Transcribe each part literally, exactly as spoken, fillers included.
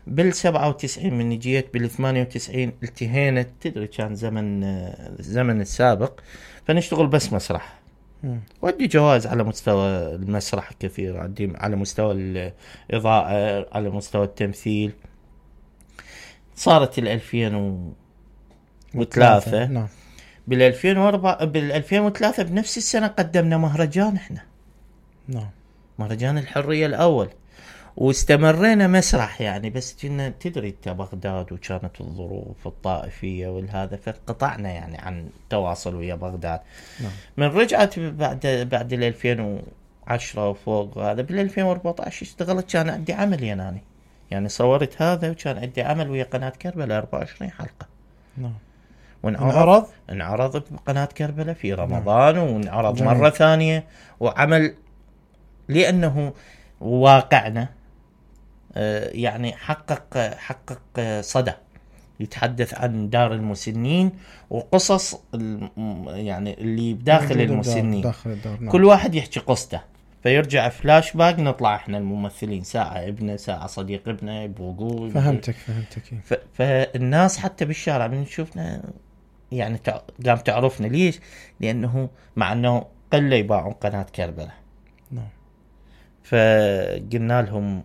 بالسبعة وتسعين من جيت بالثمانية وتسعين التهينا، تدري كان زمن زمن السابق، فنشتغل بس مسرح. ودي جوائز على مستوى المسرح كثير، عندي على مستوى الإضاءة، على مستوى التمثيل. صارت الألفين وثلاثة. نعم. بالألفين وأربعة بالألفين وثلاثة بنفس السنة قدمنا مهرجان احنا. نعم. مهرجان الحرية الأول، واستمرينا مسرح يعني، بس كنا تدري انت بغداد وكانت الظروف الطائفية والهذا، فانقطعنا يعني عن تواصل ويا بغداد. نعم. من رجعت بعد بعد ال ألفين وعشرة وفوق هذا، بال ألفين وأربعة عشر اشتغلت، كان عندي عمل يناني يعني، صورت هذا وكان عندي عمل ويا قناة كربلاء أربعة وعشرين حلقة. نعم. وانعرض انعرض بقناة كربلاء في رمضان. نعم. وانعرض جميل. مرة ثانية، وعمل لأنه واقعنا يعني حقق حقق صدى، يتحدث عن دار المسنين وقصص يعني اللي بداخل المسنين، داخل الدار. نعم. كل واحد يحكي قصته، فيرجع فلاش باك، نطلع احنا الممثلين ساعة ابنه، ساعة صديق ابنه، يبوقوا. فهمتك فهمتك. ف... فالناس حتى بالشارع من نشوفنا يعني تع... قام تعرفنا. ليش؟ لأنه مع أنه قلة يباعون قناة كربلاء. نعم. فقلنا لهم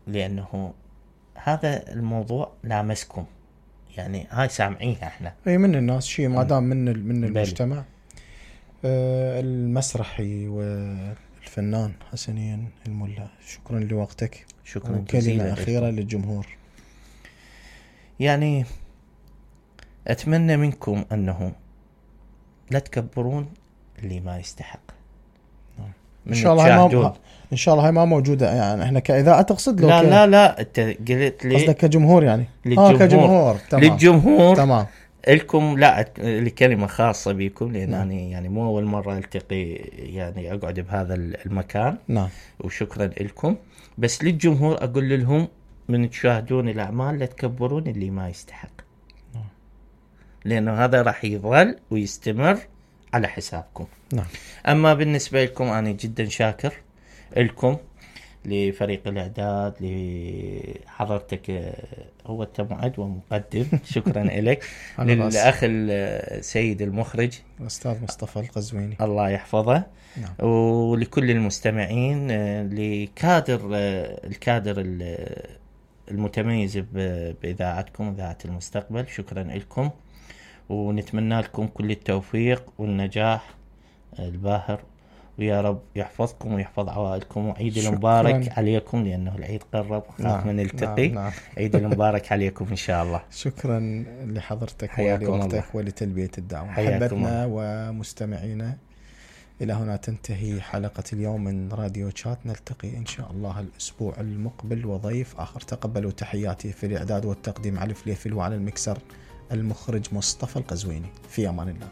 لأنه هذا الموضوع لامسكم يعني، هاي سامعينها احنا. اي من الناس شيء ما دام من من المجتمع. آه المسرحي والفنان حسنين الملا، شكرا لوقتك. شكرا جزيلا. كلمة أخيرة للجمهور. يعني أتمنى منكم أنه لا تكبرون اللي ما يستحق. ان شاء الله ما ان شاء الله هاي ما موجوده يعني، احنا كاذاعه تقصد لو لا ك... لا لا انت قلت لي قصدك كجمهور يعني. للجمهور. اه كجمهور. تمام. للجمهور. تمام. لكم لا لكلمه خاصه بكم، لان نعم. يعني يعني مو اول مره التقي يعني اقعد بهذا المكان. نعم. وشكرا لكم. بس للجمهور اقول لهم من تشاهدون الاعمال لا تكبرون اللي ما يستحق. نعم. لانه هذا راح يظل ويستمر على حسابكم. نعم. أما بالنسبة لكم أنا جدا شاكر لكم، لفريق الإعداد، لحضرتك هو التمعد ومقدم. شكرا لك. للأخ السيد المخرج الأستاذ مصطفى القزويني الله يحفظه. نعم. ولكل المستمعين، لكادر الكادر المتميز بإذاعتكم إذاعة المستقبل، شكرا لكم، ونتمنى لكم كل التوفيق والنجاح الباهر، ويا رب يحفظكم ويحفظ عوائلكم، وعيد المبارك عليكم لأنه العيد قرب، خاف من نلتقي. نعم. نعم. عيد المبارك عليكم إن شاء الله. شكرا لحضرتك ولوقتك ولتلبية الدعوة. حبتنا ومستمعينا، إلى هنا تنتهي حلقة اليوم من راديو تشات، نلتقي إن شاء الله الأسبوع المقبل وضيف آخر. تقبلوا تحياتي في الإعداد والتقديم علي فليفل، وعلى المكسر المخرج مصطفى القزويني. في أمان الله.